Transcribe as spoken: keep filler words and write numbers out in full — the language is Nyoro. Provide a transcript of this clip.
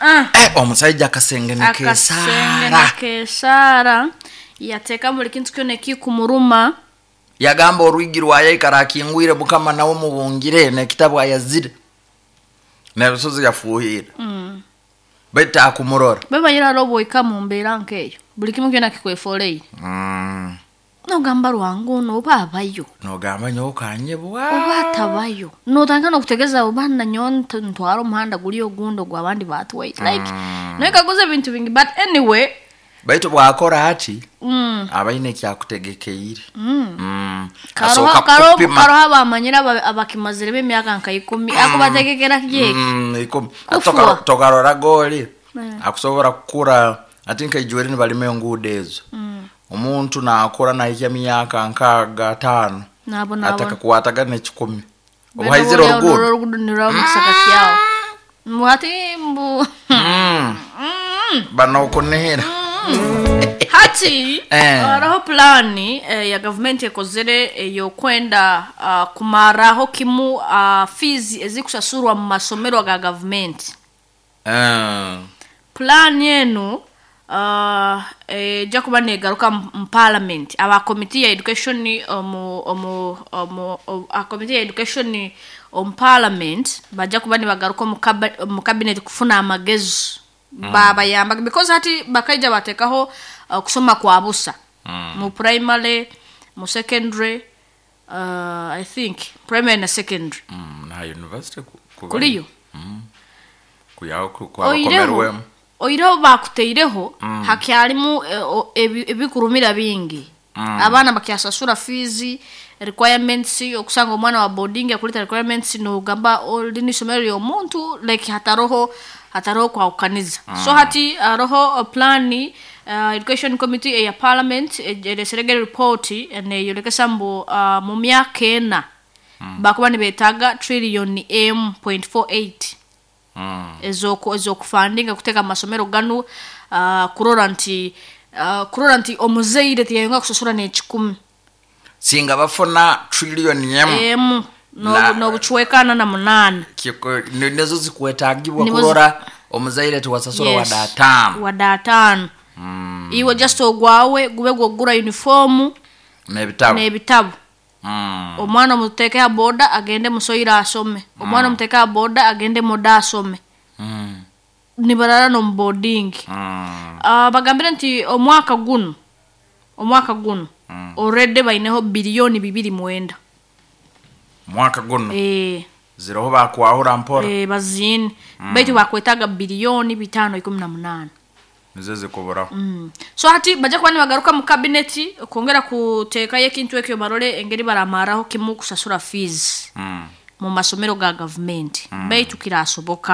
ah. Eh, omusaija akasenge Akasenge nekesaara. Nekesaara, yateeka buli kintu kyona ekikumuruma. Yagamba orwigi rwayaikara akingwire, Mukama nawe mubungire nekitabu ayazire nebisozi yafuhire, mm. baitu akumurora. Bebanyira hariho obwoika mu mbeera nkeeyo, buli kimu kyona kikwefoleire, mm. nogamba Ruhanga ono oba abayo. Nogamba nyowe kanyebwa. Oba atabayo, notandika nokutegeza oba nanyowe nt- ntwara omuhanda guli ogundi ogwabandi batwaire, like noyekaguza ebintu bingi, but anyway. Baitu bwakora ati, mm. abaine ekyakutegekeire. Mm. Mm. Karoho Asooka karoho kupima. Karoho abamanyire aba- abakimazire b'emyaka nka ikumi akubategekera kyeki. Mm, ikumi. Kufua. Ati tokarora goli Mm. akusobora kukura ati nkaijweri nibalima enguudo ezo, omuntu nakura nahikya myaka nkaaga ataano, Nabo nabo. atakakwataga nekikumi obuhaizire oruguudo. Orugudo nirwaba mukisaka kyawo mbu hati mbu. Mm. Banokunihira. Hati Eh. hariho pulaani eh, ya gavumenti ekozere eyokwenda uh, kumaraho kimu uh, fees ezikusasurwa mu masomero ga gavumenti. Eh. Pulaani enu uh, ejja kuba negaruka mu mu parliament, aba committee ya education omu omu omu omu- a committee ya education omu parliament bajja kuba nibagaruka omu kaba- omu cabinet kufuna amagezi mm. babayamba, because hati bakaija batekaho uh, kusoma kwa busa mm. mu primary, mu secondary, uh, I think primary na secondary. Mm, na university ku- kuba- Kuliyo. Kuyaho ku- Oireho kwabakomerwemu. Oireho bakuteireho hakyalimu eh, o- ebi- ebikurumira bingi, abaana bakyasasura fees requirements, okusanga omwana wa boarding akuleta requirements, nogamba lini isomero ly'omuntu, like hataroho hataroho kwahukaniza. So hati haroho plani, uh, education committee eya parliament ereseregere report neyolekesa mbu uh, mu myaka ena bakuba nibetaaga trillion m point four eight Mm. ezoku ezokufandinga kuteeka mu masomero ganu, uh, kurora nti uh, kurora nti omuzaire tiyayonga kusasura n'ekikumi. Singa bafuna trillion emu Emu Na- n'obucwekana na munaana. Kiko- ni- nizo zikwetagibwa Nizo- kurora omuzaire tiwasasura Yes. wadde ataano. Wadde ataano. Iwe just ogwawe gube gwogura uniform n'ebitabo. N'ebitabo. Mm. Omwana omuteeke ha boda agende musoyire asome, omwana omuteeke ha boda agende moda asome. Mm. Nibarara n'omu boarding. Mm. uh, bagambire nti omwaka guno omwaka guno mm. already baineho biliyoni bibiri mwenda. Mwaka guno? E, ziroho bakwahura mpora. E, baziine mm. baitu bakwetaga biliyoni bitaano ikumi na munaana. Nizo zikuburaho. mm. so hati bajja kuba nibagaruka mu kabineti kwongera kuteekayo ekintu ekyo, barole engeri baramaraho kimu kusasura fees Mm. mu masomero ga gavumenti, baitu kirasoboka.